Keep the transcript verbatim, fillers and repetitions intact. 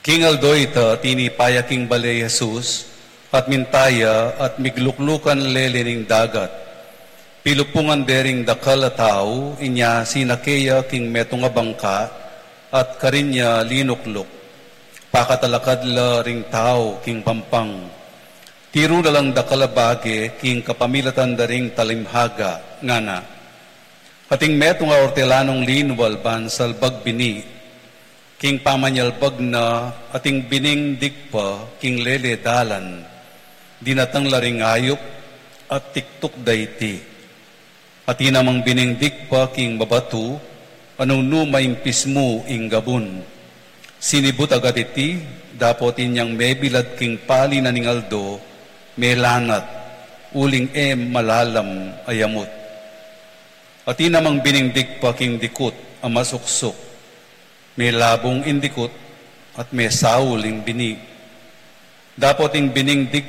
King aldo ita, tinipa ya king bale i Jesus, at minta ya at migluklukan lele ning dagat. Pilupungan de ring dakal a tau, inya sinake ya king metung a bangka, at karin ya linukluk. Pakatalakad la ring tau king pampang. Tiru la lang dakal a bage king kapamilatan da ring talimhaga, ngana. Ating metung a ortelanung linwal ban salbag bini, king pamanyalbag na ating bining digpa king lele dalan, dinatang la ring ayup at tiktuk da iti. Atin namang bining digpa king babatu, a nung nu maimpis mu ing gabun. Sinibut agad iti, dapot inyang mebilad king pali na ning aldo, melanat, uling e malalam a yamut. Atin namang bining digpa king dikut a masuksuk, melabung ing dikut at mesaul ing bini. Dapot ing bining digpa